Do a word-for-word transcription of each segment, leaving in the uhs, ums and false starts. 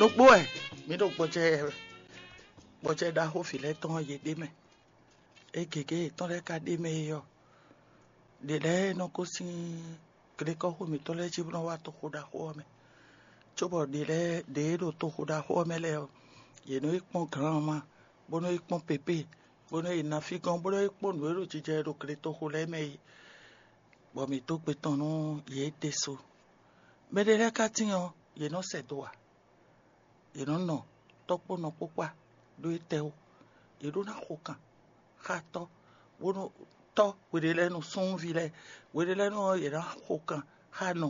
Ɖokpó wɛ mǐ ɖo gbɔjɛ gbɔjɛ ɖaxó vǐ lɛ́ɛ tɔn ɔ́, yě ɖ'é mɛ. É gěgé yětɔn lɛ́ɛ ka ɖ'é mɛ é ɔ́, ɖě lɛ́ɛ nɔ gosín glekɔ́xo mǐtɔn lɛ́ɛ jí bó nɔ́ wá toxo ɖaxó ɔ́ mɛ. Cóbɔ ɖě lɛ́ɛ ɖě e ɖo toxo ɖaxó ɔ́ mɛ lɛ́ɛ ɔ́, yě nɔ yi kpɔ́n glǎnma, bó nɔ yi kpɔ́n pépé, bó nɔ yi nafí gɔ́n, bó nɔ yi kpɔ́n nǔ e ɖo jijɛ ɖo gletoxo lɛ́ɛ mɛ é, bɔ mǐ dó gbe tɔn nú yě ɖésú. Mɛɖé lɛ́ɛ ka tíin ɔ́, yě nɔ sɛ do ǎ. Yě nɔ nɔ tɔ́ kpó nɔ kpó kpá ɖó étɛ́ wú. Yě ɖó ná xo kan xá tɔ́, bónú tɔ́ hweɖé lɛ́ɛ nɔ súnnuví lɛ́ɛ, hweɖé lɛ́ɛ nɔ yě ná xo kan xá nɔ.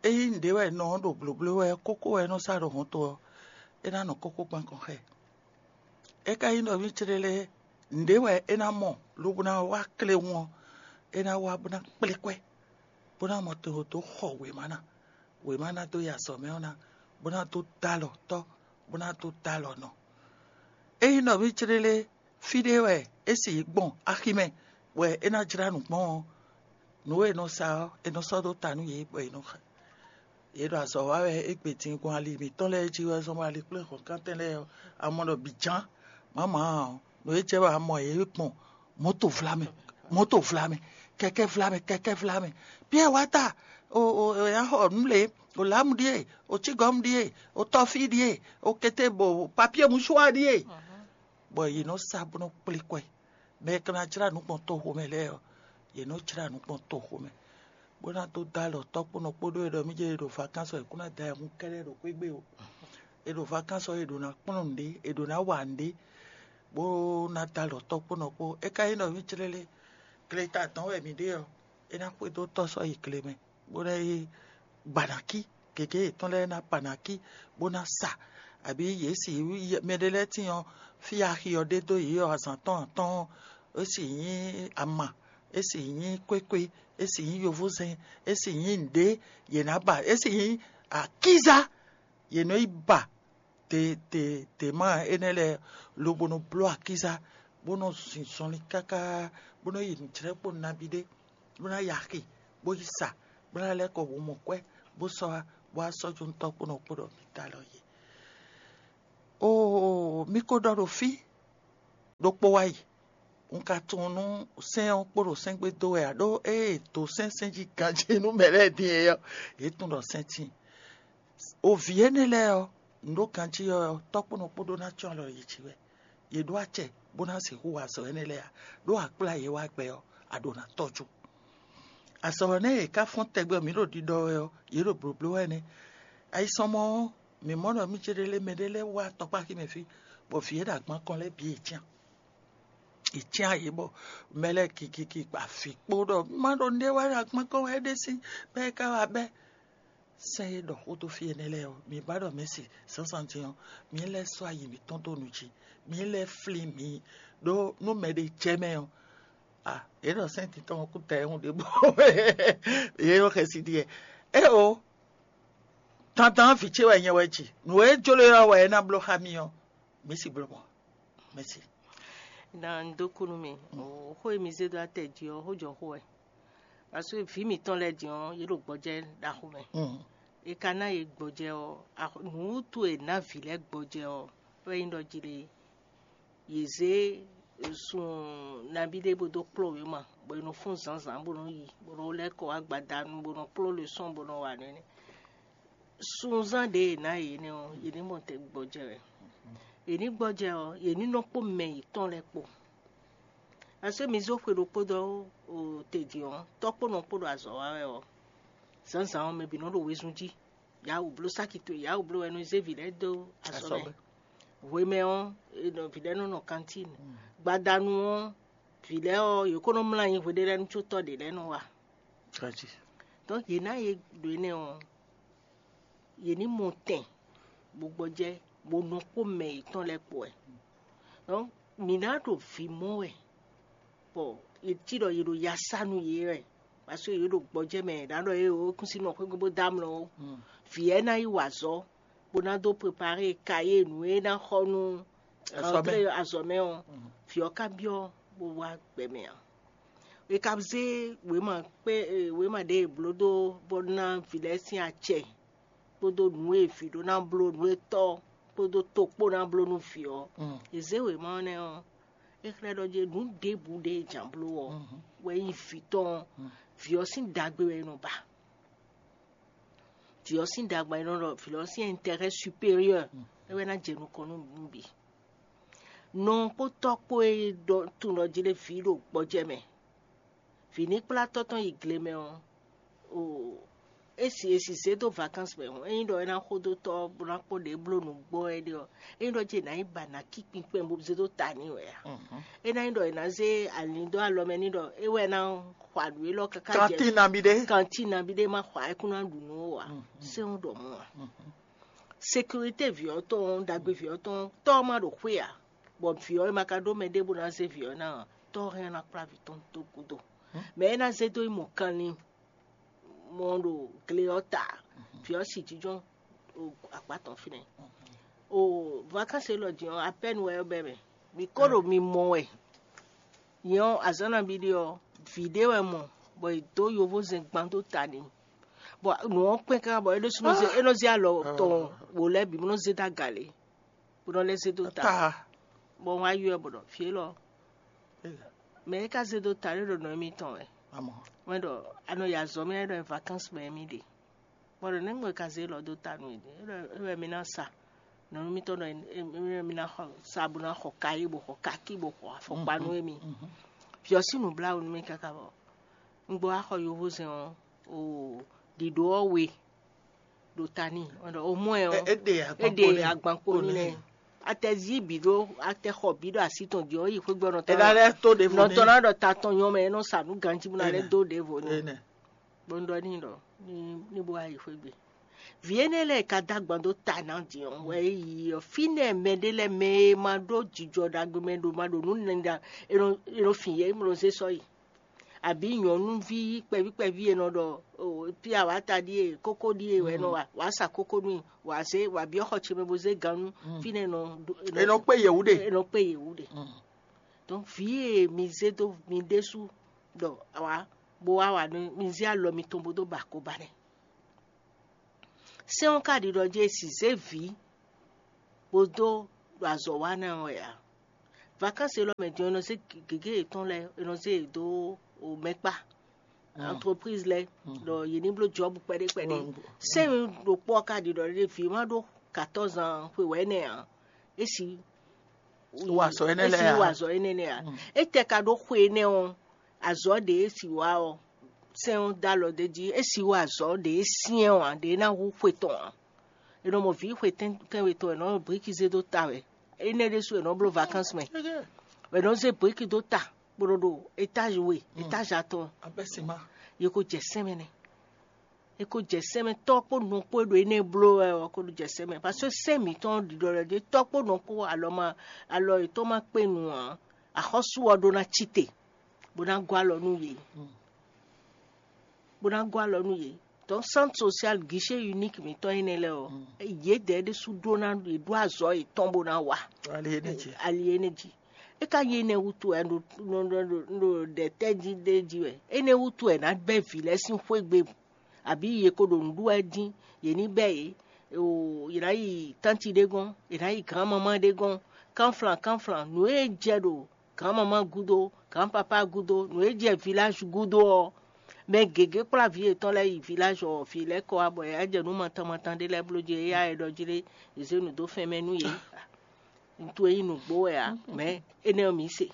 Ényí nǔɖé wɛ nɔ ɔ́ ɖo blǒbló wɛ ɔ́, kókó wɛ é nɔ sá ɖo hɔnto ɔ́, é ná nɔ kókó kpán kɔn xá ɛ. É ka nyí ɖɔ mì céɖélé nǔɖé wɛ é ná mɔ lobo ná wá kléwún ɔ́, é ná wá bó ná kplé kwɛ́, bó ná mɔ to dó xɔ wěma ná. Wěma ná dó yi azɔ̌ mɛ ɔ́ ná, bó ná dó dó alɔ tɔ́, bó ná dó dó alɔ nɔ. Ényí nɔví céɖélé fí ɖé wɛ é sì yi gbɔn aximɛ wɛ é ná jlá nǔ gbɔn ɔ́, nǔ e è nɔ sa ɔ́, è nɔ sɔ́ dó ta nú yě bɔ è nɔ xa. Yě ɖo azɔ̌ wa wɛ égbé din gbɔn ali mǐtɔn lɛ́ɛ jí wɛ zɔn bɔ ali kplé hɔ̌nkántɛn lɛ́ɛ ɔ́, a mɔ ɖɔ bǐ ján. Mǎmǎ ɔ́, nǔ e jɛ wɛ a mɔ yě gbɔn mɔ̌to vlamɛ, mɔ̌to vlamɛ, kɛkɛ́ vlamɛ, kɛkɛ́ vlamɛ. Piyɛ́ɛ wá ta, o o o ya xɔ nǔ lě, o lǎmu ɖíe, o cígɔ́mu ɖíe, o tɔ́fí ɖíe, o kété bo papíe musuwa ɖíe. Bɔ yě nɔ sa bó nɔ kplé kwɛ. Mɛ e ka ná jlá nǔ gbɔn toxo mɛ lɛ́ɛ ɔ́, yě nɔ jlá nǔ gbɔn toxo mɛ, bó ná dó dó alɔ tɔ́ kpó nɔ kpódó e ɖɔ mí jɛ e ɖo vakansi ɔ́, è kún ná da ayihún kɛ́ɖɛ́ ɖo xwé gbe o. È ɖo vakansi ɔ́, è ɖo ná kplɔ́n nǔɖé, è ɖo ná wa nǔɖé, bó ná dó alɔ tɔ́ kpó nɔ kpó. É ka nyí ɖɔ mí clélé, gleta dɔn wɛ mǐ ɖe ɔ́, é ná xwedó tɔ́ sɔ́ yi gle mɛ, bó ná yi gbanakí, gěgé yětɔn lɛ́ɛ ná gbanakí, bó ná sa, abǐ yě si mɛɖé lɛ́ɛ tín ɔ́, fí axi ɔ́ ɖe dó yě ɔ́, azǎn tɔn atɔ́ɔ́n, é si nyí ama, é si nyí kwékwe, é si nyí yovózɛn, é si nyí nǔɖé, yě ná ba, é si nyí akízá, yě nɔ yi ba te te te ma énɛ́ lɛ́ɛ, lobo nɔ bló akízá, bó nɔ zin zɔnlin káká, bó nɔ yi nǔjlɛ́kpo nabí ɖé, bó ná yi axi, bó yi sa, bó ná lɛ́ kɔ womɔkwɛ́, bó sɔ́ wá, bó wá sɔ́ jó nú tɔ́ kpó nɔ kpó ɖɔ mǐ dó alɔ yě. Oo, mí ko ɖɔ ɖo fí ɖokpó wá yi. Un ka tunwun nú sɛ́n ɔ́ kpo ɖo sɛ́n gbe dó wɛ ǎ, ɖó ée è dǒ sɛ́n sɛ́n jí ganjí nú mɛ lɛ́ɛ din é ɔ́, yě tunwun ɖɔ sɛ́n tíin. O vǐ énɛ́ lɛ́ɛ ɔ́, nǔ ɖo ganjí ɔ́, tɔ́ kpó nɔ kpó ɖó ná cɔ́n alɔ yě jí wɛ. Yě ɖó acɛ bó ná sixú wa azɔ̌ énɛ́ lɛ́ɛ ǎ, ɖó a kplá yě wá gbɛ ɔ́, a ɖǒ ná tɔ́jú. Azɔ̌ ɔ́ nɛ́ yě ká fɔ́n tɛgbɛ mǐ ɖo ɖiɖɔ wɛ ɔ́, yě ɖo blǒbló wɛ nɛ́. Ayisɔmɔ ɔ́, mǐ mɔ ɖɔ mí céɖélé mɛɖé lɛ́ɛ wá tɔkpáxi mɛ fí, bɔ vǐ e ɖo agban kɔn lɛ́ɛ bǐ yě cyán. Yě cyán yě bɔ mɛ lɛ́ɛ kikiki afi kpo ɖɔ má ɖo nɖé wá ɖo agban kɔn wɛ é ɖe sín bɛ́ é ká wá bɛ́. Sɛ́n e ɖɔ xó dó fí énɛ́ lɛ́ɛ ɔ́, mi ba ɖɔ mɛ̌si zǎnzǎn din ɔ́, mi lɛ́ sɔ́ ayi mǐtɔn dó nu jí, mi lɛ́ flín mi, ɖó nú mɛɖé jɛ mɛ ɔ́, a yě ɖɔ sɛ́n titɔn ɔ́ kú ta ɛhún ɖěbǔ. Yě nɔ xɛsi ɖiɛ. Éeǒ, dandan vǐ ce wɛ nyɛ wɛ ji. Nǔ e jló ɔ́ wɛ é ná bló xá mi ɔ́, mǐ si bló mɔ̌. Mɛ̌si. Na un dó kú nú mi. Xó e mi zé dó atɛ jí ɔ́, xó jɔ xó wɛ. Parce que vǐ mǐtɔn lɛ́ɛ din ɔ́, yě ɖo gbɔjɛ́ ɖaxó mɛ. È ka ná yě gbɔjɛ́ ɔ́, nǔwútu e è nǎ vǐ lɛ́ɛ gbɔjɛ́ ɔ́, wɛ nyí ɖɔ jí ɖe yě zé sun nabí ɖé bó dó kplɔ́n wěma, bɔ è nɔ fɔ́n zǎnzǎn bó nɔ yi, bó nɔ lɛ́ kɔ wá gbadanu, bó nɔ kplɔ́n lɛsɔn, bó nɔ wa nɛnɛ. Sunzán ɖě è nǎ yě nɛ́ ɔ́, yě ní mɔ tɛn gbɔjɛ́ wɛ. Yě ní gbɔjɛ́ ɔ́, yě ní nɔ kpó mɛ yětɔn lɛ́ɛ kpó. Asú mi zó xwe ɖokpó dó te din ɔ́, tɔ́ kpó nɔ kpó ɖo azɔ̌ wa wɛ ɔ́, zǎnzǎn ɔ́, mɛ bǐ nɔ ɖo wezun jí. Yǎ wǔ bló sáki towe, yǎ wǔ bló wɛ nɔ zé vǐ lɛ́ɛ dó azɔ̌ mɛ. Hwemɛ ɔ́, vǐ lɛ́ɛ nɔ nɔ kantín. Gbadanu ɔ́, vǐ lɛ́ɛ ɔ́, yě ko nɔ mlá anyi hweɖé lɛ́ɛ nú có tɔ́ ɖě lɛ́ɛ nɔ wa. Donc yě ná yě ɖo énɛ́ ɔ́, yě ní mɔ tɛn bó gbɔjɛ́, bó nɔ kpó mɛ yětɔn lɛ́ɛ kpó wɛ. Donc mǐ ná ɖo vǐ mɔ wɛ, bɔ è cí ɖɔ yě ɖo ya sá nú yě wɛ, parce que yě ɖo gbɔjɛ́ mɛ, è nǎ ɖɔ yě o kún sí nɔ xwégbe bó dó amlɔ ó. Vǐ ɛ ná yi wa azɔ̌, bó ná dó prepare kayé nǔ e ná xɔ nú azɔ̌mɛ ɔ́, vǐ ɔ́ ka byɔ́ bó wá gbɛ mɛ ǎ. È ka zé wěma kpé wěma ɖě è blǒ dó bó ná vǐ lɛ́ɛ sín acɛ. kpódó nǔ e vǐ ɖó ná bló, nǔ e tɔ́ kpódó to kpó ná bló nú vǐ ɔ́, è zě wěma ɔ́ nɛ́ ɔ́, é xlɛ́ ɖɔ jɛ nǔ ɖěbǔ ɖé e jǎn bló ɔ́ wɛ nyí vǐ tɔn ɔ́, vǐ ɔ́ sín ɖagbe wɛ è nɔ ba. Vǐ ɔ́ sín ɖagbe wɛ è nɔ ɖɔ vǐ ɔ́ sín intérêt supérieur é wɛ ná jɛ nukɔn nú nǔ bǐ. Nɔ kpó tɔ́ kpó e ɖɔ tunɔ jí ɖé vǐ ɖo gbɔjɛ́ mɛ, vǐ ní kplá tɔ́ tɔn yi gle mɛ ɔ́, o é si e si zé dó vacances mɛ hɔn, ényí ɖɔ é ná xo dó tɔ́ bó ná kpɔ́n ɖě bló nǔgbó wɛ ɖe ɔ́, ényí ɖɔ jɛ è nǎ yi ba nǎ kí kpinkpɛn bó zé dó ta n'i wɛ a? Ényí ɖɔ è nǎ zé alin dó alɔ mɛ n'i ɖɔ é wɛ ná xɔ nǔ élɔ́ káká jɛ kantín nabí ɖé kantín nabí ɖé má xɔ ayɛkún ná ɖu nǔ ó ǎ. Sɛ́n ɖɔ mɔ̌ ǎ. Sécurité vǐ ɔ́ tɔn, ɖagbe vǐ ɔ́ tɔn, tɔ́ ɔ́ má ɖo xwé ǎ, bɔ vǐ ɔ́ e ma ka ɖó mɛ ɖěbǔ ná zé vǐ ɔ́ ná ǎ, tɔ́ ɔ́ hɛn ná kplá vǐ tɔn dó gúdo. Mɛ é ná zé dó yi mɔ kanlin mɔ ɖo gle ɔ́ ta, vǐ ɔ́ si jínjɔ́n ɖo akpá tɔn fínɛ́. O vacances élɔ́ din ɔ́, apɛ́nu wɛ ɔ́ bɛ́ mɛ. Mi ko ɖo mi mɔ wɛ. Nyɛ ɔ́, azǎn nabí ɖé ɔ́, vǐ ɖé wɛ mɔ, bɔ è dǒ yovózɛn gban dó ta n'i. Bɔ nǔ ɔ́ kpɛn káká bɔ é ɖésú nɔ zé é nɔ zé alɔ tɔn wǒ lɛ́ɛ bǐ bó nɔ zé dó aga lě, bó nɔ lɛ́ zé dó ta. Bɔ un wá ylɔ́ ɛ bɔ ɖɔ fí élɔ́ mɛ é ka zé dó ta ɖé ɖo nɔ émítɔn wɛ. Wɛn ɖɔ a nɔ yi azɔ̌ mɛ ɖɔ vacances mɛ émí ɖe. Bɔ ɖo nɛ́ gbɔn è ka zé lɔ dó ta nú yě? É wɛ mi ná sa nɔ nú mítɔn ɖɔ mi ná xɔ sa bó ná xɔ kayí bó xɔ kakí bó xɔ afɔkpa nú émi. Vǐ ɔ́ sín nǔbláwǔ nú mì káká bɔ un gbɔ wá xɔ yovózɛn ɔ́ o ɖiɖo ɔ́ we ɖo ta n'i. Wɛn ɖɔ o mɔ ɛ ɔ́ é ɖe agbankpo n'i lɛ. Atɛ zí bǐ ɖó atɛ xɔ bǐ ɖo así tɔn jí ɔ́ yi xwé gbɔ nɔtɔn. Ná ɖɔ ta tɔn nyɔ mɛ é nɔ sa nǔ ganjí bó ná lɛ́ dó ɖěvo n'i. Bó ń ɖɔ n'i ɖɔ ní bó wá yi xwé gbe. Vǐ énɛ́ lɛ́ɛ ka dó agban dó ta ná din ɔ́ wɛ é yi ɔ́, fínɛ́ mɛɖé lɛ́ɛ mɛ e ma ɖó jijɔ ɖagbe mɛ ɖo ma ɖo nǔ nɛɖa è nɔ fin yě, è nɔ zé sɔ́ yi. Àbí nyɔ̌nuví kpɛví kpɛví e nɔ ɖɔ pí awǎta ɖíe kókó ɖíe wɛ nɔ wa wǎ sa kókó nú i, wǎ zé wǎ byɔ́ xɔ ce mɛ bó zé gannú fínɛ́ nɔ è nɔ kpé yěwú ɖe è nɔ kpé yěwú ɖe. Donc vǐ e mi zé dó mi ɖésú ɖɔ wǎ bó wá wǎ nú mi zé alɔ mitɔn bó dó ba akɔba nɛ́. Sɛ́n ɔ́ ka ɖiɖɔ jí è si zé vǐ bó dó ɖo azɔ̌ wa ná wɛ ǎ. Vakansi élɔ́ mɛ din ɔ́, è nɔ zé gěgé yětɔn lɛ́ɛ, è nɔ zé yě dó mɛkpá, entreprise lɛ́ɛ, ɖɔ yě ní bló jɔ̌bu kpɛɖé kpɛɖé. Sɛ́n ɖokpó ɔ́ ka ɖiɖɔ ɖé vǐ ma ɖó quatorze ans xwe wɛ̌nɛ ǎ. É si wa azɔ̌ énɛ́ lɛ́ɛ ǎ. Wa azɔ̌ énɛ́ lɛ́ɛ ǎ. Étɛ́ ka ɖó xwe énɛ́ ɔ́, azɔ̌ ɖě e si wa ɔ́, sɛ́n ɔ́ dó alɔ d'é jí, é si wa azɔ̌ ɖě e syɛ́n ɔ́ ǎ, ɖě e ná hú xwe tɔn ǎ. È nɔ mɔ vǐ xwe tɛ́nwe tɔn, è nɔ bló briki zé dó ta wɛ. Énɛ́ ɖésú è nɔ bló vakansi mɛ. È nɔ zé briki dó ta, bó nɔ ɖo étage we, étage atɔn. Abɛ́ sima. Yě ko jɛ sɛ́n mɛ nɛ́. È ko jɛ sɛ́n mɛ, tɔ́ kpó nɔ kpó e ɖo énɛ́ bló wɛ ɔ́ ko jɛ sɛ́n mɛ. Parce que sɛ́n mǐtɔn ɖiɖɔ lɛ́ɛ ɖě tɔ́ kpó nɔ kpó alɔ ma alɔ yětɔn ma kpé nu ǎ, axɔ́sú ɔ́ ɖó ná cí te, bó ná gɔ́ alɔ nú yě. Bó ná gɔ́ alɔ nú yě. Donc centre social guichet unique mǐtɔn énɛ́ lɛ́ɛ ɔ́, yědɛɛ ɖésú ɖó ná yě ɖó azɔ̌ yětɔn bó ná wa. Ali énɛ́ jí. É ka nyí énɛ́ wútu wɛ ɖo ɖo ɖɛ tɛ́ jí ɖé jí wɛ. Énɛ́ wútu wɛ ná bɛ́ vǐ lɛ́ɛ sín xwé gbe, àbí yě ko ɖo nǔ ɖu wɛ dín, yě ní bɛ́ yě. Yě ná yi tánti ɖé gɔ́n, yě ná yi gǎnmamá ɖé gɔ́n, kánflan kánflan, nǔ e jɛ ɖo gǎnmamá gúdo, gǎnpapá gúdo, nǔ e jɛ viláž gúdo ɔ́, mɛ gěgé kplá vǐ yětɔn lɛ́ɛ yi viláž ɔ́, vǐ lɛ́ɛ kɔ wá bɔ yě wá jɛ nǔ matan matan ɖé lɛ́ɛ bló jí, éyá è ɖɔ jí ɖé, è zé nǔ dó fɛn mɛ nú yě. Ntu e nyí nǔgbó wɛ ǎ, mɛ énɛ́ ɔ́ mǐ se.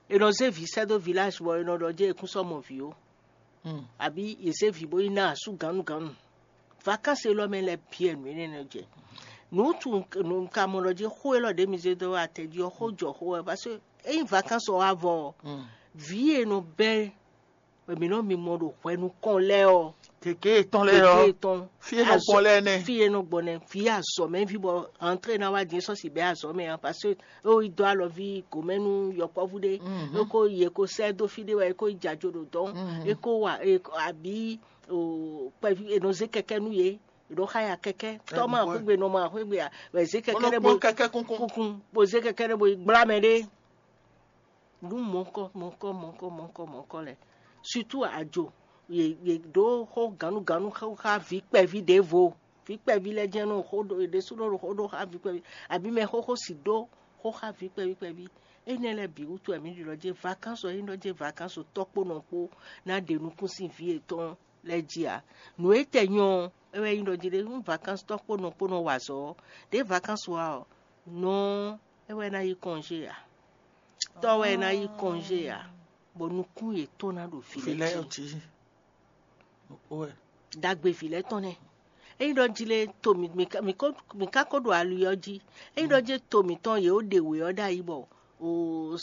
È nɔ zé vǐ sɛ́ dó viláž bɔ è nɔ ɖɔ jɛ́n è kún sɔ́ mɔ vǐ ó. Àbí yě zé vǐ bó yi ná asú gǎnnugǎnnu. Vakansi élɔ́ mɛ lɛ́ɛ bǐ wɛ nǔ énɛ́ nɔ jɛ. Nǔ tu nǔ ka mɔ ɖɔ jí xó élɔ́ ɖě mi zé dó atɛ jí ɔ́, xó jɔ xó wɛ, parce que ényí vakansi ɔ́ wá vɔ ɔ́, vǐ e nɔ bɛ́ mǐ nɔ mi mɔ ɖo hwɛ nukɔn lɛ́ɛ ɔ́, gěgé tɔn lɛ́ɛ ɔ́, fí e nɔ gbɔn lɛ́ɛ nɛ. Fí e nɔ gbɔn nɛ, vǐ azɔ̌ mɛ ví bɔ antré ná wá din sɔ́ si bɛ́ azɔ̌ mɛ ǎ, parce que é ko yi dó alɔví gǒmɛ nú yɔkpɔ́vú ɖé, é ko yi é ko sɛ́ dó fí ɖé wɛ é ko yi jajǒ ɖo dɔ̌n, é ko wa abǐ kpɛví è nɔ zé kɛkɛ́ nú yě, è nɔ xáya kɛkɛ́, tɔ́ ma xwégbe nɔ ma xwégbe ǎ, wɛ zé kɛkɛ́ ɖé bó kɛkɛ́ kúnkún kúnkún, bó zé kɛkɛ́ ɖé bó yi gblá mɛ ɖé. Nǔ mɔ̌kɔ mɔ̌kɔ mɔ̌kɔ mɔ̌kɔ mɔ̌kɔ lɛ́ɛ, surtout ajo, yě yě ɖó xó gǎnnugǎnnu xá vǐ kpɛví ɖěvo. vǐ kpɛví lɛ́ɛ jɛ́n nɔ xó ɖó yě ɖésúnɔ ɖo xó ɖó xá vǐ kpɛví, abǐ mɛ xóxó sì ɖó xó xá vǐ kpɛví kpɛví. Énɛ́ lɛ́ɛ bǐ wútu wɛ mǐ ɖi ɖɔ jé vacances ɔ, é nyí ɖɔ jé vacances tɔ́ kpó nɔ kpó ná ɖe nukún sín vǐ yětɔn lɛ́ɛ jí ǎ. Nǔ e tɛ nyɔ ɔ́, é wɛ nyí ɖɔ jí ɖé nú vacances tɔ́ kpó nɔ kpó nɔ wa azɔ̌ ɔ́, ɖě vacances wa ɔ́, nɔ ɔ́, é wɛ ná yí congé ǎ. Tɔ́ wɛ ná yí congé ǎ, bɔ nukún yětɔn ná ɖo vǐ lɛ́ɛ jí. Ɖagbeví lɛ́ɛ tɔn nɛ́. Ényí ɖɔ jí lé to mǐ mǐ ka- mǐ ko- mǐ ka ko ɖo ali ɔ́ jí. Ényí ɖɔ jí to mǐtɔn yě ó ɖe wě ɔ́ ɖ'ayǐ bɔ o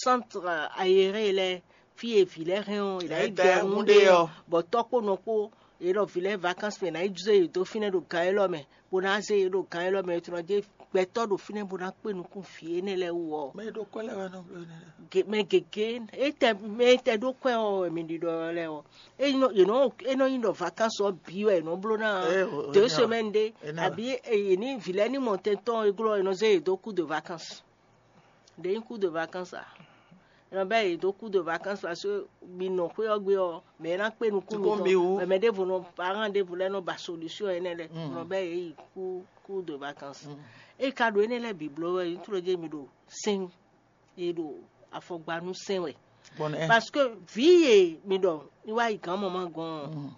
centre aéré lɛ́ɛ fí e vǐ lɛ́ɛ hɛn ɔ́, è nǎ yi Ɛ, gbɛ ɛ, ɔ́ húndé ɔ́. Bɔ tɔ́ kpó nɔ kpó yě ɖɔ vǐ lɛ́ɛ vacances mɛ è nǎ yi zé yě dó fínɛ́ ɖo gan élɔ́ mɛ, bó ná zé yě ɖo gan élɔ́ mɛ, è tunɔ jɛ gbɛtɔ́ ɖo fínɛ́ bó ná kpé nukún vǐ énɛ́ lɛ́ɛ wú ɔ́. Mɛ e ɖo kwɛ́ lɛ́ɛ wɛ nɔ bló énɛ́ lɛ́ɛ. Ge- mɛ gěgé e tɛ mɛ e tɛ ɖó kwɛ́ ɔ́ wɛ mi ɖiɖɔ lɛ́ɛ ɔ́. É nɔ- yě nɔ é nɔ nyi ɖɔ vacances ɔ́ bǐ wɛ è nɔ bló ná. Ɛ, o, deux é nɔ- semaines ɖé é nɔ- àbí yě ní vǐ lɛ́ɛ ní mɔ tɛntɔn e glɔ́ è nɔ zé yě dó coup de vacances. Ɖě nyí coup de vacances a? È nɔ bɛ́ yě dó coup de vacances parce que mi nɔ xwé ɔ́ gbe ɔ́, mɛ e ná kpé nukún Kpó mitɔn mi wú. Mɛ mɛ ɖěvo nɔ parent ɖěvo lɛ́ɛ nɔ ba solution énɛ́ lɛ́ɛ. Mm. È nɔ bɛ́ yě yi coup coup de vacances. Mm. É ka ɖo énɛ́ lɛ́ɛ bǐ bló wɛ, nyí tló jɛ mi ɖo sɛn e ɖo afɔgbanu sɛn wɛ. Parce que vǐ e mi ɖɔ ní wá yi gǎn mama gɔn ɔ́,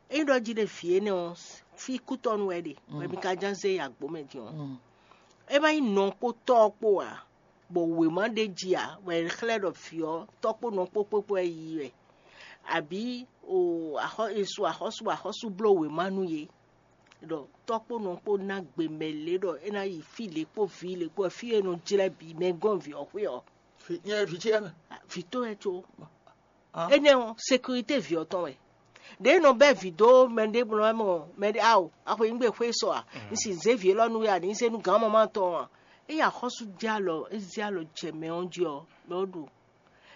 é ɖɔ jí ɖe vǐ énɛ́ ɔ́ fí kútɔ́nu wɛ ɖe wɛ mi ka ján zé yi agbǒ mɛ din ɔ́. É má nyí nɔ kpó tɔ́ ɔ́ kpó ǎ, bɔ wěma ɖé jí ǎ wɛ è xlɛ́ ɖɔ vǐ ɔ́ tɔ́ kpó nɔ kpó kpó kpó wɛ yi wɛ, abǐ o axɔ e su axɔ́sú axɔ́sú bló wěma nú yě. Ɖɔ tɔ́ kpó nɔ kpó ná gbe mɛ lě ɖɔ é ná yi fí lě kpó vǐ lě kpó fí e nɔ jlɛ́ bǐ mɛ gɔ́n vǐ ɔ́ xwé ɔ́. Nyɛ vǐ ce mɛ. Vǐ tɔn wɛ có. Énɛ́ ɔ́ sécurité vǐ ɔ́ tɔn wɛ. Ɖě nɔ bɛ́ vǐ dó mɛ ɖé mlɔ mɔ mɛ ɖé ao axwe nyí gbe xwé sɔ a? Ní si zé vǐ élɔ́ nú wɛ a ní zé nú gǎn mama tɔn a? É yi axɔ́sú jɛ alɔ é zé alɔ jɛ mɛ ɔ́ jí ɔ́ mɛ ɔ́ ɖo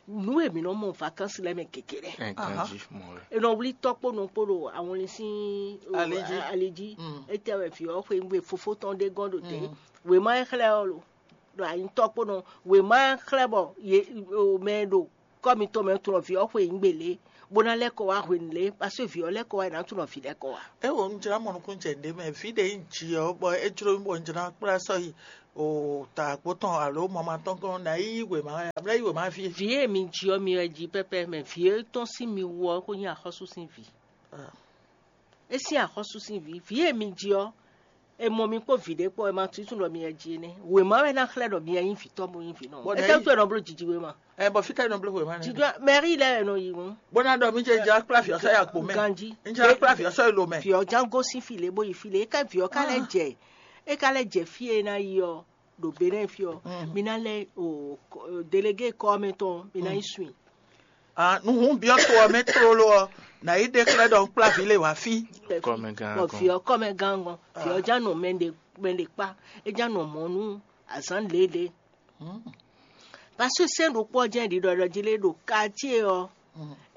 nǔ e mǐ nɔ mɔ vacances lɛ́ɛ mɛ gěgé lɛ́ɛ. Ɛ, ganjí mɔ wɛ. È nɔ wlí tɔ́ kpó nɔ kpó ɖo awɔnlin sín o, Ali jí. Ali jí. Mm. Étɛ́ wɛ vǐ ɔ́ xwe nú fofó tɔn ɖé gɔ́n ɖo tɛ́. Mm. Wěma e xlɛ́ ɔ́ lo ɖo anyi tɔ́ kpó nɔ. Wěma e xlɛ́ bɔ ye o mɛ e ɖo kɔ́ mitɔn mɛ tunɔ vǐ ɔ́ xwe nyí gbe lě, bó ná lɛ́ kɔ wá hwenu lě, paseke vǐ ɔ́ lɛ́ kɔ wá è nǎ tunɔ vǐ lɛ́ kɔ wá. É wo un jlá mɔnukúnjɛ ɖé mɛ, vǐ ɖě nyí jǐ ɔ́, bɔ é jló mì bɔ un jlá kplá sɔ́ yi o ta àgbo tɔn alo mama tɔn gɔ́n ná yí wěma wɛ, amlá yí wěma fí. Vǐ e mi ji ɔ́ mi wɛ ji pɛ́pɛ́ mɛ, vǐ e tɔ́n sín mi wú ɔ́ kó nyí axɔ́sú sín vǐ. Ah. É sín axɔ́sú sín vǐ, vǐ e mi ji ɔ́, è mɔ mi kpó vǐ ɖé kpó, è ma tunwun ɖɔ mi wɛ ji énɛ́. Wěma wɛ ná xlɛ́ ɖɔ mi wɛ nyí vǐ tɔn bó nyí vǐ nɔ. Bɔ É nɛ́ tɛ́ yí- wútu è nɔ bló jiji wěma. Ɛ bɔ fítɛ́ nɔ bló wěma nɛ. Jiji mɛrí lɛ́ɛ è nɔ yi ŋu. Bó ná ɖɔ mí jẹ́ jẹ́ akpla fìyà sɔ́ yà kpó mɛ. Ganjí. Ń jẹ́ akpla fìyà sɔ́ yà ló mɛ. Fìyà já gosín fì lé bó yi fì lé. É ká vǐ ɔ́ ká lɛ́ jɛ. É ká lɛ́ jɛ fí e ná yi ɔ́, ɖo Benɛ́ fí ɔ́. Mi ná lɛ́ o kɔ- délégué kɔ́ mɛ tɔn, mi ná yi swin. Ah, nuhun biɔ to ɔ mɛ tlolo ɔ, na yi ɖe xlɛ́ ɖɔ un kpla vǐ le wá fí. Kɔmɛgán Bɔ gɔn. Vǐ ɔ́ kɔ́ mɛ gán gɔn. Vǐ ɔ́ já nɔ mɛ ɖe mɛ ɖe kpá. É já nɔ mɔ̌ nú azǎn lělě. Parce que sɛ́n ɖokpó ɔ́ jɛ́n ɖiɖɔ ɖɔ jí lé ɖo quartier ɔ́.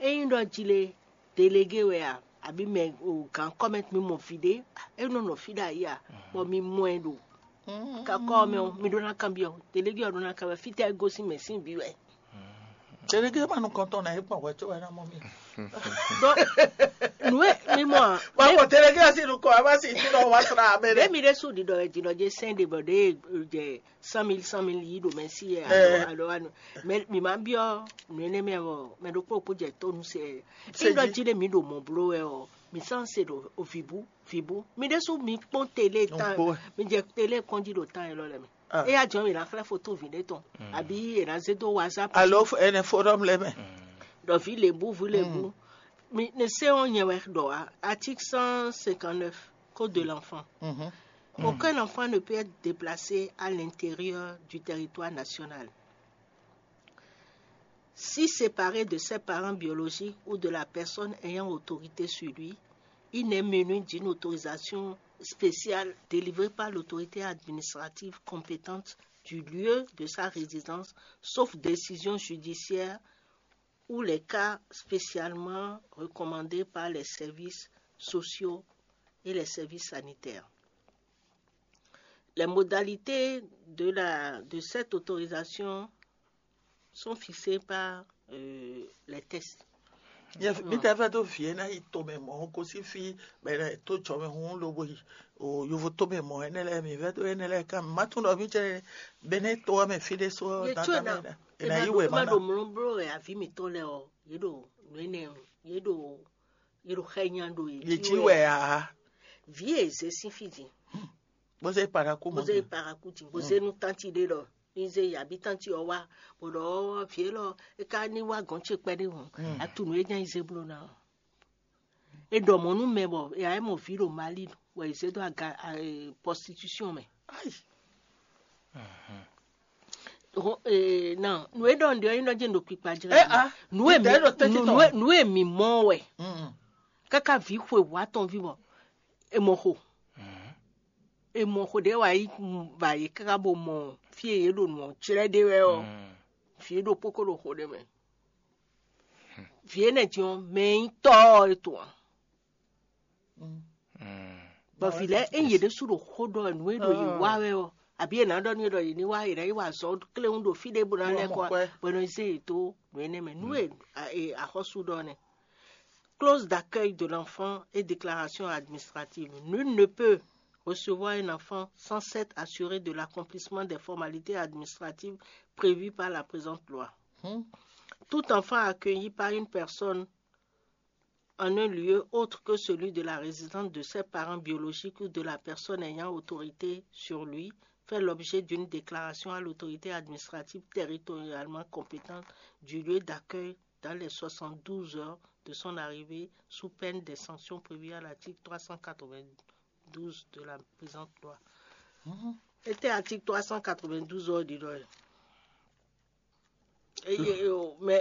Ényí ɖɔ jí lé délégué wɛ a, àbí mɛ o gǎn kɔ́mɛ mi mɔ vǐ ɖé, é nɔ nɔ fí ɖo ayé a, bɔ mi mɔ ɛ ɖo kakɔ ɔ́ mɛ ɔ́, mi ɖó ná kanbyɔ́. Délégué ɔ́ ɖó ná kanbyɔ́ fítɛ́ é gosín mɛ sín vǐ wɛ. Délégué ma nukɔntɔn na é kpɔn hwɛ tó wɛ ná mɔ mi. Donc, nǔ e mi mɔ a, Wa mɔ délégué asi nukɔ a ma si tu dɔ wa sra abɛ ɖe. Ɖé mi ɖé su ɖiɖɔ wɛ jǐnɔ jɛ sɛn ɖe bɔ ɖe jɛ cent mille cent mille yi ɖo mɛ si yɛ alo alo anu. Mais mi ma biɔ nǔ énɛ́ mɛ ɔ, mɛ ɖokpó ɖokpó jɛ tó nu se. Ényí ɖɔ jí ɖé mi ɖo mɔ bló wɛ ɔ, mi sán se ɖo vǐbú vǐbú. Mi ɖésú mi kpɔ́n télé tán, mi jɛ télé kpɔ́n jí ɖo tán élɔ́ lɛ mɛ. Éyá jɔn mi ná xlɛ́ foto vǐ ɖé tɔn, àbí è nǎ zé dó WhatsApp. Alo ɛnɛ forum lɛ mɛ. Ɖɔ vǐ lěbú vǐ lěbú. Mi ne se ɔ́ nyɛ wɛ ɖɔ article cent cinquante-neuf code de l'enfant. Aucun enfant ne peut être déplacé à l'intérieur du territoire national. Si séparé de ses parents biologiques ou de la personne ayant autorité sur lui, il n'est muni d'une autorisation spéciale délivrée par l'autorité administrative compétente du lieu de sa résidence, sauf décision judiciaire ou les cas spécialement recommandés par les services sociaux et les services sanitaires. Les modalités de, la, de cette autorisation sont fixées par euh, les textes. Nyɛ mi tɛ fɛ tó fie na yi to mɛ mɔ ko si fi bɛ to tsɔ mɛ hun lo bo yi o yovo tó mɛ mɔ ɛnɛ lɛ́ɛ mi vɛ tó ɛnɛ lɛ́ɛ kan ma tún ɖɔ mi cɛ bɛnɛ tó wɛ mɛ fi ɖé so Ye dan tso dan na mɛ e ena ma yi ɖo wɛ e ma ma ɖo na mlɔ blo e avi mitɔ lɛ ɔ ye ɖo nu enɛ ye ɖo ye ɖo xɛ nya ɖo ye ye ji wɛ a vi e ze sin fi di bó se para kú mɔ boze paraku di boze nu tanti ɖe ɖɔ mi ze yabi tanti ɔ wa bɔ ɖɔ vi e lɔ e ka ni wa gɔn ce kpɛ ɖe hɔn atu nu e nya yi ze blo na ɔ e ɖɔ mɔ nu mɛ bɔ e ayɛ mɔ vi ɖo mali wɛ e ze do aga prostitution mɛ ayi Ho- eh, non, nu e ɖɔ nɖe ɔ́ nyí ɖɔ jɛ ɖo kpikpa jɛ Eh, ah, nu e mi tɛ ɖo tɛti nu- tɔn. nu e- nu e mi mɔ wɛ Mm, kaka vi xwe wa tɔn vi bɔ e mɔ xo e mɔ xo ɖe wa yi va yi kaka bo mɔ fi e ye ɖo nu ɔ tsrɛ ɖe wɛ ɔ vi e ɖo kpoko ɖo xo ɖe mɛ vi e nɛ din ɔ mɛ yi tɔ ɔ e to ɔ mm. bɔ vi lɛ e yě ɖésú ɖo xó ɖɔ nǔ e ɖo yě wá wɛ ɔ àbí è nǎ ɖɔ nú yě ɖɔ yě ní wá yě ná yi wá azɔ̌ kléwún ɖo fí ɖé bó ná lɛ́ kɔ Mɔ kwɛ. bɔ è nɔ zé yě dó nǔ énɛ́ mɛ nú e a- e- axɔ́sú ɖɔ nɛ́. Clause d'accueil de l'enfant et déclaration administrative. Nul ne peut recevoir un enfant sans s'être assuré de l'accomplissement des formalités administratives prévues par la présente loi. Hmm. Tout enfant accueilli par une personne en un lieu autre que celui de la résidence de ses parents biologiques ou de la personne ayant autorité sur lui fait l'objet d'une déclaration à l'autorité administrative territorialement compétente du lieu d'accueil dans les soixante-douze heures de son arrivée sous peine des sanctions prévues à l'article trois cent quatre-vingt-douze de la présente loi. Ete article trois cent quatre-vingt-douze ɔ ɖi ɖɔ eye mɛ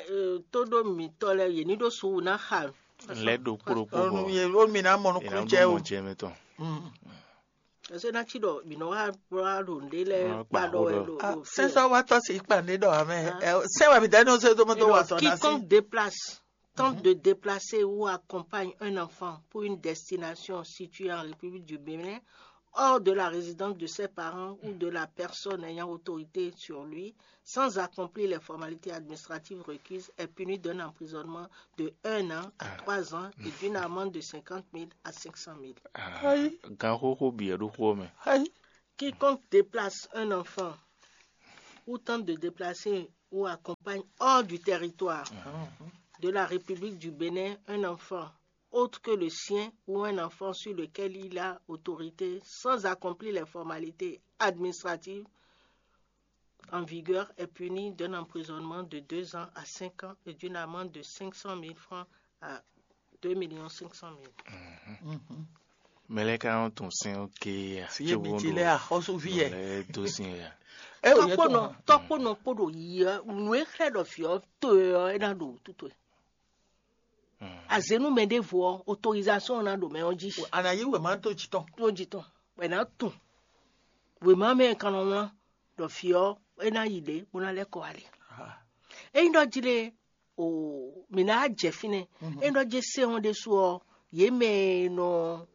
tóɖó mitɔ lɛ yě ní ɖó suwu ná xa lɛ ɖo kpóɖokpó Onu bɔ ye wo mi na mɔ nukun jɛ o. jɛ mɛ tɔn. Mm. ɛsɛ ná tsi ɖɔ mǐ nɔ wá wá ɖo nɖé lɛ Wá kpa kpa ɖɔ wɛ xó ɖo Ah, ɖo sensɔ wa tɔ si kpa ne ɖɔ amɛ. Sɛ wa mi da ni o se do mo do wa sɔ na si. Quiconque déplace tente de déplacer ou accompagne un enfant pour une destination située en République du Bénin hors de la résidence de ses parents ou de la personne ayant autorité sur lui sans accomplir les formalités administratives requises est puni d'un emprisonnement de un an à trois ans et d'une amende de cinquante mille à cinq cent mille. Ayi. Gan xóxó bǐ ɛ ɖó xó mɛ. Ayi. Quiconque déplace un enfant ou tente de déplacer ou accompagne hors du territoire de la République du Bénin un enfant autre que le sien ou un enfant sur lequel il a autorité sans accomplir les formalités administratives en vigueur est puni d'un emprisonnement de deux ans à cinq ans et d'une amende de cinq cent mille francs à deux millions cinq cent mille. Mɛ lɛ ka nɔ tun sɛn ké ya. Fi ye mi ti lɛ axɔsu fi yɛ. Lɛ do sin ya. E o ye Tɔkpɔnɔ tɔn. tɔkpɔnɔ kpɔɖo yi nu e xlɛ ɖɔ fi ɔ to ɔ e na ɖo tuto e. Azenu mɛ ɖevo ɔ autorisation na ɖo mɛ ɔ ji. Ana yi wɛ ma to tsi tɔn. Tó ji tɔn wɛ na tun wema mɛ kan nɔ wlán ɖɔ fi ɔ e na yi ɖe bó na lɛ́ kɔ ali. Eyin ɖɔ ji le o mi na jɛ fínɛ eyin ɖɔ jɛ sɛn ɔ ɖe su ɔ ye mɛ nɔ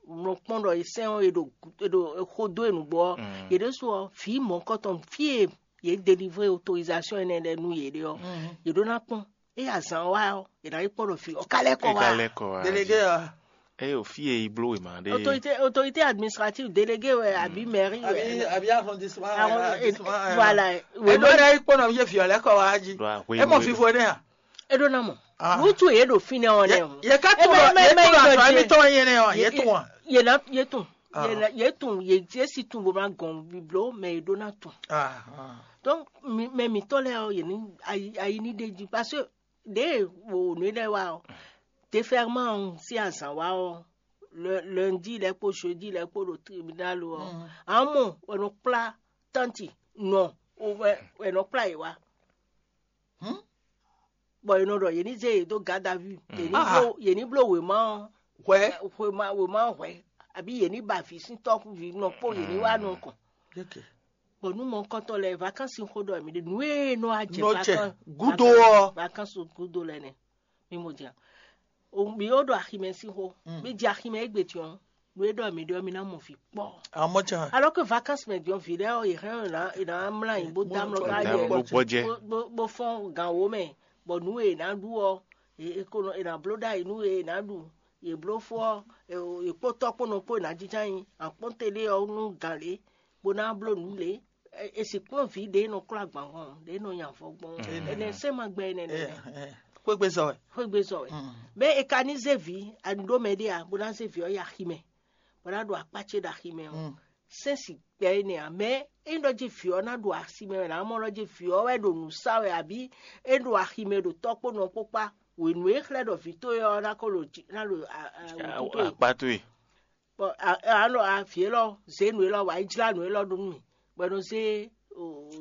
nɔ kpɔn ɖɔ ye sɛn ɔ e ɖo e ɖo xo dó e nugbɔ ɔ ye ɖe su ɔ fi mɔkɔtɔn fi e ye délivrer autorisation ɛnɛ lɛ nú ye ɖe ɔ ye ɖo na kpɔn e azan wa ɔ ye na yi kpɔn ɖɔ fi ɔ ka lɛ kɔ E ka wa. lɛ kɔ wa. Délégué a. Eye o fi e yi bló wema ɖe. Autorité autorité administrative délégué wɛ abi mairie Abi wɛ. abi arrondissement. Arrond- Arrondissement. Voilà. E do ɖe yi kpɔnɔ ye fi ɔ lɛ kɔ wa ji. Ɖo ahwe E mɔ fifo ne a. E ɖo na mɔ. Ah. Ŋutsu ye ɖo fi nɛ ɔ nɛ. Ye ka tun ɖɔ ye tun ɖɔ asɔ mi tɔn ye ne ɔ ye tun wa. Ye na ye tun. Ah. Ye na- Ye tun ye ye si tun bo ma gɔn biblo mɛ ye ɖo na tun. Ah, ah. Donc mi- mɛ mitɔ lɛ ɔ ye ni ayi ayi ni ɖe ji parce que ɖe wo nu lɛ wa ɔ déferment ɔ si azan wa ɔ le- lundi lɛ kpo jeudi lɛ kpo ɖo tribunal ɔ amɔ wɛ nɔ kpla tanti nɔ o wɛ wɛ nɔ kpla yi wa Hmm? Bɔ è nɔ ɖɔ yě ní zé yě dó garde à vue, yě ní Ah. bló yě ní bló wěma ɔ́, Hwɛ. wěma wěma ɔ́ hwɛ̌, àbí yě ní ba vǐ sín tɔ́xúvǐ nɔ kpó yě ní wá nukɔn. Yeke. Bɔ nú mɔkɔntɔn lɛ́ɛ vacances xó ɖɔ mǐ ɖe nǔ e nɔ wá jɛ Nɔ jɛ vacances- gudo vacances- ɔ. Vacances gudo lɛ nɛ mi mo jɛ o mi ó ɖo aximɛ sín xó mi jɛ aximɛ égbè tiɔn nú é ɖɔ mǐ ɖɔ mi ná mɔ vǐ kpɔ. Amɔ can. Alors que vacances mɛ diɔn vǐ lɛ́ɛ ɔ yě hɛn ɔ́ yě ná mlá yín bó dá mlɔ ká Dá jɛ mlɔ Gbɔjɛ. bó- bó- bó fɔ́n gǎn wo mɛ bɔ nǔ e è nǎ ɖu ɔ è- è ko nɔ- è nǎ bló ɖ'ayǐ nú e è nǎ ɖu Yě bló fó ɔ́, è kpó tɔ́ kpó nɔ kpó è nǎ jínjɔ́n nyi akpɔ́ntɛ́ ɖé ɔ́ nú gǎn lě, bó ná bló nǔ lě. È sixú kplɔ́n vǐ ɖě e nɔ klɔ́ agban hɔn, ɖě e nɔ nya avɔ gbɔn. Énɛ́ sɛ́n ma gbɛ énɛ́ nɛ́. Xwégbezɔ wɛ. Xwégbezɔ wɛ. Bɛ́ è ka ní zé vǐ, a ní ɖó mɛ ɖé a, bó ná zé vǐ ɔ́ yi aximɛ, bó ná ɖo akpá ce ɖo aximɛ ɔ́, sɛ́n si gbɛ énɛ́ ǎ. Mɛ é ɖɔ jí vǐ ɔ́ ná ɖo aximɛ wɛ, nǎ mɔ ɖɔ jí vǐ ɔ́ wɛ ɖo nǔ sa wɛ, abǐ é ɖo aximɛ ɖo tɔ́ kpó nɔ kpó kpá. Wěnú e xlɛ́ ɖɔ vǐ towe ɔ́ ná ko ɖo jǐ ná ɖo wǔtu towe. Akpá towe. Bɔ a nɔ vǐ élɔ́ zě nǔ élɔ́ wǎ yi jlá nǔ élɔ́ ɖó nú mì, bɔ é nɔ zé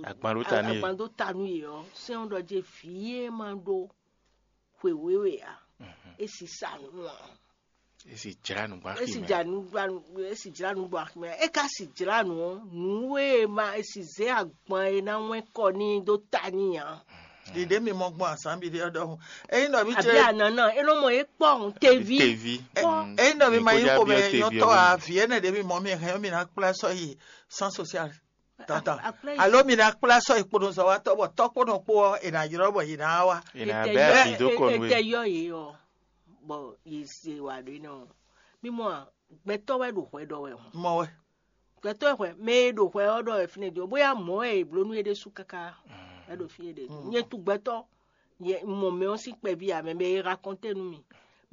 agban ɖó ta nú yě. Agban dó ta nú yě ɔ́, sɛ́n ɔ́ ɖɔ jí vǐ e ma ɖó xwe wěwe ǎ, é si sa nǔ ǎ. É si jlá nǔ gbá é si xi mɛ. Jla nǔ gbá nǔ é si jlá nǔ gbɔ aximɛ. É ka si jlá nǔ ɔ́, nǔ e ma é si zě agban e ná wɛn kɔ n'i dó ta n'i ǎ. Ɖiɖe mi mɔ gbɔn azǎn bi ɖé ɔ́ ɖɔhun. Eyin ɖɔ mi Àbí ce anana é nɔ mɔ é kpɔ ọ̀hún teví. Tevi. Kpɔ. Mm, Eyin ɖɔ mi ma nyí xomɛ nyɔtɔ a, vi ɛnɛ ɖe mi mɔ mi hɛn mi ná kplá sɔ yi sans social tata. Akplá yi. Alo mi ná kplá sɔ yi kpoɖo zɔ wa tɔ bɔ tɔ kpoɖo kpo ɔ́, è nà ylɔ bɔ yě ná wa. Ina bɛ afi dó kɔ nú Ètè e. Yɔ yě ɔ, bɔ yě se wà ɖé nɔ. Mímɔ gbɛtɔ wɛ ɖo hwɛ ɖɔ wɛ hɔn. Mɔ wɛ. Gbɛtɔ́ hwɛ mɛ e ɖo hwɛ ɔ́ ɖɔ wɛ fínɛ́ din ɔ́, bóyá mɔ̌ wɛ è bló nú é ɖésú káká wɛ ɖo fí é ɖe. Nyɛ tu gbɛtɔ́, nyɛ mɔ mɛ ɔ́ sín kpɛví ǎ, mɛ mɛ e raconté nú mi.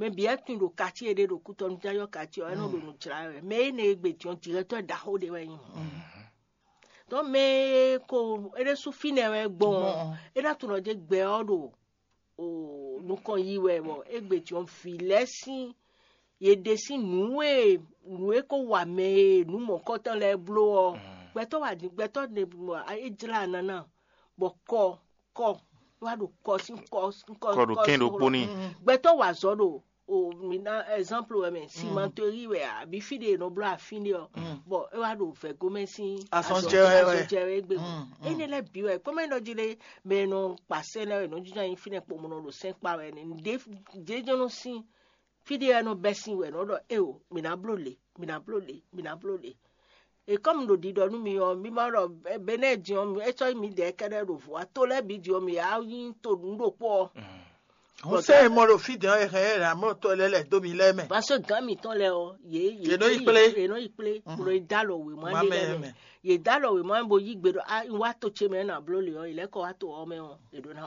Mɛ bǐ wɛ tunwun ɖo quartier ɖé ɖo Kútɔnú, já yɔ quartier ɔ́, é nɔ ɖo nǔ jlá wɛ. Mɛ énɛ́ e gbe din ɔ́, directeur ɖaxó ɖé wɛ nyí mɔ̌. Donc mɛ e ko é ɖésú fínɛ́ wɛ gbɔn ɔ́, é ná tunwun ɖɔ jɛ gbɛ ɔ́ ɖo o nukɔn yi wɛ bɔ égbé jɔn vǐ lɛ́ɛ sín yě ɖe sín nǔ e nǔ e ko wa mɛ e nǔ mɔ̌kɔtɔn lɛ́ɛ bló ɔ́, gbɛtɔ́ wa din gbɛtɔ́ ɖe mɔ é jlá nana bɔ kɔ kɔ wá ɖo kɔ sín kɔ sín kɔ Kɔ ɖo kɛ́n ɖokpó n'i. Gbɛtɔ́ wa azɔ̌ ɖo o mi ná exemple wɛ mɛ simantori wɛ àbí fí ɖe è nɔ bló afín ɖé ɔ́, bɔ é wá ɖo vɛgomɛ sín Azɔn jɛ wɛ wɛ. Azɔn jɛ wɛ égbé. Énɛ́ lɛ́ɛ bǐ wɛ kpɔ́mɔ é nɔ jí lé mɛ e nɔ kpa sɛ́n lɛ́ɛ wɛ nɔ jínjɔ́n nyi fínɛ́ kpomɔnɔ ɖo sɛ́n kpa wɛ nɛ́. Ɖějɔ́nɔ sín fí ɖé wɛ nɔ bɛ́ sín wɛ nɔ ɖɔ éo mǐ ná bló lě mǐ ná bló lě mǐ ná bló lě. E kɔ́m ɖo ɖiɖɔ nú mi ɔ́, mi ma ɖɔ Benɛ́ɛ din ɔ́, é sɔ́ nyí midɛɛ kɛ́ɖɛ́ ɖo vɔ̌ ǎ. To lɛ́ɛ bǐ din ɔ́, mǐ wá nyí to nǔ ɖokpó ɔ́. Hǔn sɛ e mɔ ɖo fí din ɔ́, è hɛn ɛ ɖo amlɔ to lɛ́ lɛ̌ dó mi lɛ́ɛ mɛ. Parce que gǎn mǐtɔn lɛ́ɛ ɔ́, yě Yě nɔ yi kplé. Yě nɔ yi kplé, bó nɔ yi dó alɔ wěma Wěma ɖé mɛ lɛ́ɛ mɛ. Mɛ. Yě dó alɔ wěma mɛ bo yí gbe ɖɔ a un wá to ce mɛ ná bló lě ɔ́, yě lɛ́ kɔ wá to ɔ́ mɛ ɔ́, è ɖǒ ná